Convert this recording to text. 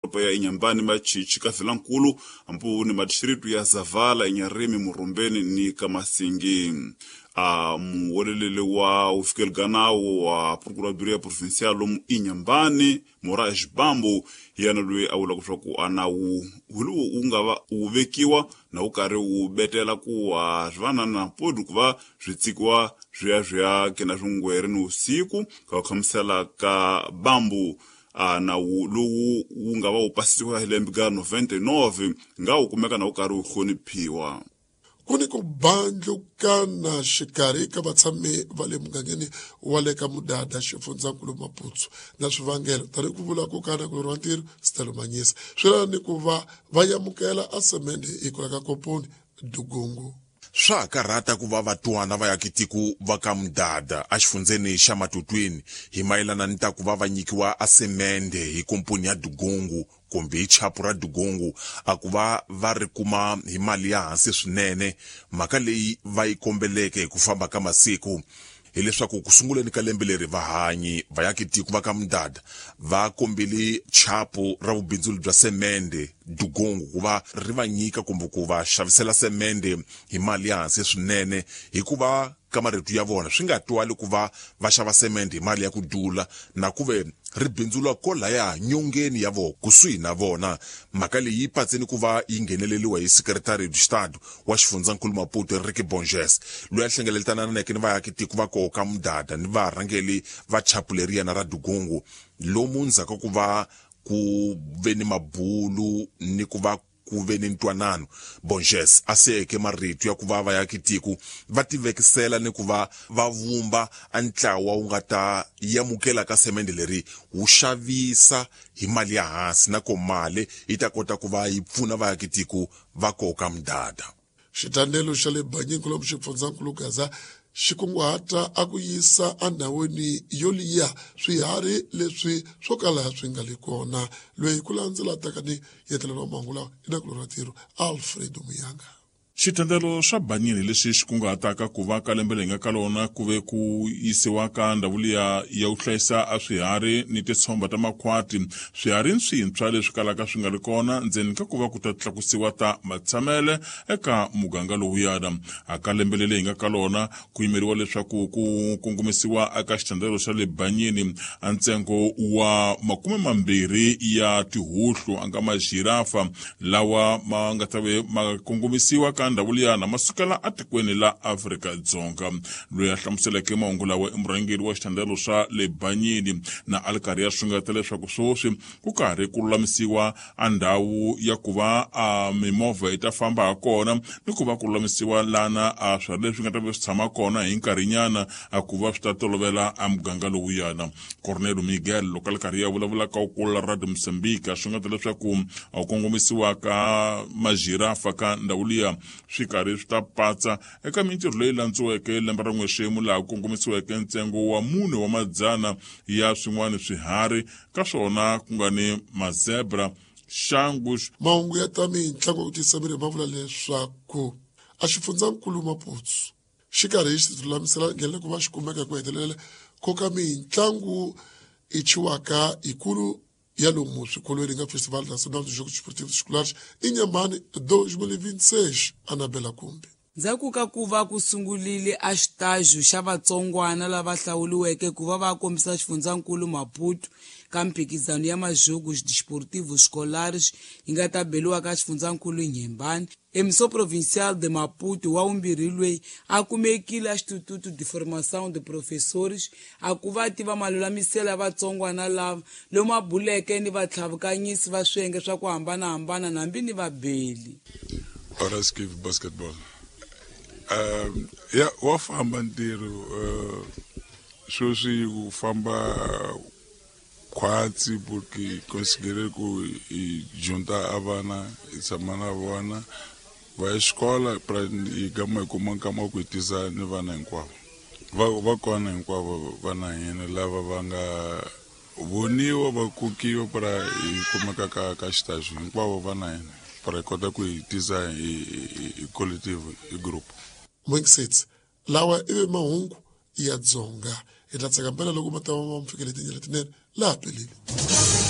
Doroba ya Inhambane, Machichi, Kavilankulu, ambu ni madistritu ya Zavala, Inharime, Murumbeni ni Kamasingi. Muwelelele wa ufikelganawo wa Procuradoria Provincial lomu Inhambane, Moraes Bambo, yena loyi a vulaka leswaku a nawu lowu wu nga va wu vekiwa na wu karhi wu betela ku swi va na na podi ku va swi tsikiwa swi ya swi ya kena swingweri ni usiku. Ka ku hlamusela ka Bambo, nawu lowu wu nga va wu pasisiwa hi lembe ka 99 nga wu kumeka na wu karhi wu hloniphiwa. Ku ni ku bandlukana xikarhi ka vatshami va le mugangeni wa le ka Mudada, xifundzankulu Maputo, na swivangelo tanihi ku vula ku kana ku wa ntirho Stelo Manyisa swi lava ni ku va va amukela asemende hi kula ka komponi Dugungu. Swa ha karhata ku va vatwana va yakitiko va ka Mudada exifundzeni xa Matutwini hi mayelana ni ta ku va va nyikiwa asemende hi komponi ya Dugungu kumbe hi chapu ra Dugungu, a ku va va ri kuma hi mali ya hansi swinene. Mhaka leyi va yi kombeleke hi ku famba ka masiku hileswaku ku sunguleni ka lembe leri, vahanyi vayakitiko va ka Mudada va kombele chapu ra vubindzuli bya semende Dugungu ku va ri va nyika kumbe ku va xavisela semende hi mali ya hansi swinene, hikuva ka marito ya vona swi nga twali ku va va xava semende hi mali ya ku dula na ku ve ri bindzula kolaya nyongeni ya vona, kusuhi na vona. Mhaka leyi yi patseni ku va yi ngheneleliwa hi Secretary de Estado wa xifundzankulu Maputo, Enrique Bonges, loyi a hlengeletananeke ni vaakitiko va koho ka Mudada ni varhangeli va chapu leriyana ra Dugungu, lomu ndzhaku ku va ku ve ni mabulu ni ku va ku ve ni ntwanano. Bonges a siyeke marito ya ku va vayakitiko va tivekisela ni ku va va vumba a ntlawa wu nga ta yamukela ka semende leri wu xavisa hi mali ya hansi, na ko mali yi ta kota ku va yi pfuna vayakitiko va koka Mudada. Xitandelo xa le Banyini lomu xifundzankulu Gaza xi kunguhata a ku yisa endhawini yo liya swiharhi leswi swo kala swi nga le kona. Loyi ku landzela taka ni yetlelelo wa mahungu lawa i nakulorhi wa ntirho Alfredo Muyanga. Xitendelo swa Banyini lexi xi kunguhataka ku va ka lembe leyi nga ka lona ku ve ku yisiwa ka ndhawu liya ya ku hlayisa a swiharhi ni titshomba ta makhwati, swiharhi swintshwa leswi kalaka swi nga ri kona, ndzeni ka ku va ku ta tlakusiwa ta matshamele eka muganga lowuyana. A ka lembe leri hi nga ka lona ku yimeriwa leswaku ku kongomisiwa eka xitendelo xa le Banyini a ntsengo wa 20 ya tihuhlu, a nga majirafa lawa ma nga ta ve ma kongomisiwa ka ndhawu liyana, ma sukela atikweni la Afrika-Dzonga. Loyi a hlamuseleke mahungu lawa i murhangeri wa xithandelo swa le Banyini, na a ri karhi ya swingeta leswaku sweswi ku karhi ku lulamisiwa a ndhawu ya ku va a mimovha yi ta famba ha kona, ni ku va ku lulamisiwa lana a swiharhi leswi nga ta va swi tshama kona hi nkarhinyana, a ku va swi ta tolovela a muganga lowuyana. Cornelio Miguel, loko a ri karhi ya vulavula ka kula Radio Mozambique, a swingeta leswaku a kongomisiwa ka majirafa ka ndhawu liya swi karhi swi ta patsa eka mintirho leyi landziweke lembe ra n'wexemu, laha ku kongomisiweke ntsengo wa 400 ya swin'wana swiharhi, ka swona ku nga ni mazebra, xangus. Mahungu ya ta mitlangu ku tiyisa miri ma vula leswaku a xifundzankulu Maputo xi karhi xi lulamisela nghenela ku va xi kumeka ku hetelela koka mitlangu i chiwaka yikulu ya lomu swikolweni nga Festival Nacional de Jogos Esportivos Escolares Inhambane 2026. Anabela Kumbi. Ndzhaku ka ku va ku sungurile a xitajo xa vatsongwana lava hlawuriweke ku va va kombisa xifundzankulu Maputo ka mphikizano ya majogos desportivos escolares yi nga ta beliwa ka xifundzankulu Inhambane, Emissão Provincial de Maputo wa vumbirhi loyi a kumekile a Instituto de Formação de Professores a ku va tiva malulamiselo ya vatsongwana lava, lomu a buleke ni vatlhavukanyisi va swiyenge swa ku hambanahambana hambi ni vabeli. Horace basketball. Ya wa famba ntirho, sweswi ku famba khwatsi, porque considerei ku hi junta a vana, hi tshama na vona va ya xikola, pra hi gama hi kuma nkama wa ku hi tisa ni vana hinkwavo va kona hinkwavo vana hina lava va nga voniwa va kokiwa pra hi kumeka ka xitaxo hinkwavo vana hina, pra hi kota ku hi tisa hi collective, hi group. Mwingisitsi, lawa ivi mahungu ya Dzonga. Hi ta tsaka mpela loko ma ta va ma mi fikele tindlela tinene laha peleni.